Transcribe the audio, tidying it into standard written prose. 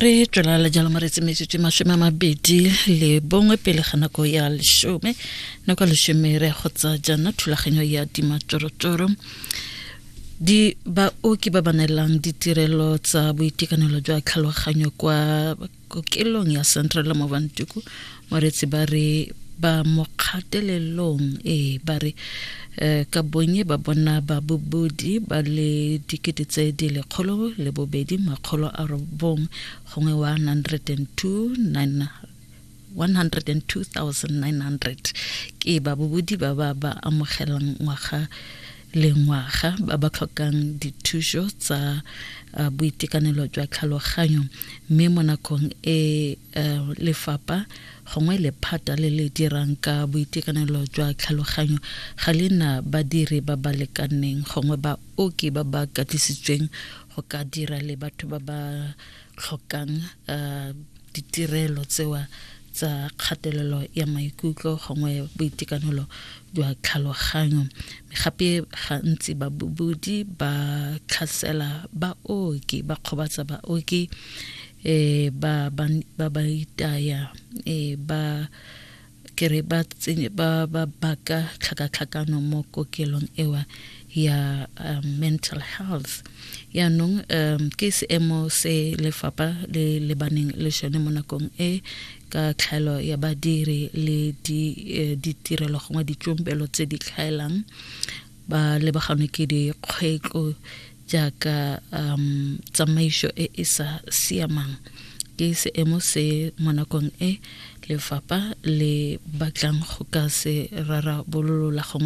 Re tswelela jalo moretsi metsotso 21 pele ga nako ya 10. Nako ya 10 re go tsa jaana thulaganyo ya dimatsorotsoro. Di baoki ba ba neelang ditirelo tsa boitekanelo jwa tlhaloganyo kwa kokelong ya Central Movantuku, moretsi, ba re ba mo kgatelelong. Ee, ba re ka bonye ba bona ba bobodi ba le 102,900 gongwe 102 102,900 ke ba bobodi ba ba ba amogelang ngwaga le ngwaga, ba ba tlhokang dithuso tsa boitekanelo jwa tlhaloganyo. Mme mo nakong e lefapha gongwe lephata le le dirang ka boitekanelo jwa tlhaloganyo ga le na badiri ba ba lekaneng gongwe baoki ba ba katlisitsweng go ka dira le batho ba ba tlhokang ditirelo tsewa tsa kgatelelo ya maikutlo gongwe boitekanelo jwa tlhaloganyo. Gape gantsi babobodi ba tlhasela baoki, ba kgobatsa baoki, ba ba ba itaya, ba kere ba tsenye ba ba baka tlhakatlhakano mo kokelong ewa ya mental health. Yaanong ke seemo se lefapha le lebaneng le sone mo nakong e ka tlhaelo ya badiri le ditirelo gongwe ditsompelo tse di tlhaelang. Ba lebaganwe ke dikgwetlo jaaka tsamaiso e e sa siamang. Ke seemo se mo nakong e lefapha le batlang go ka se rarabololola gongwe.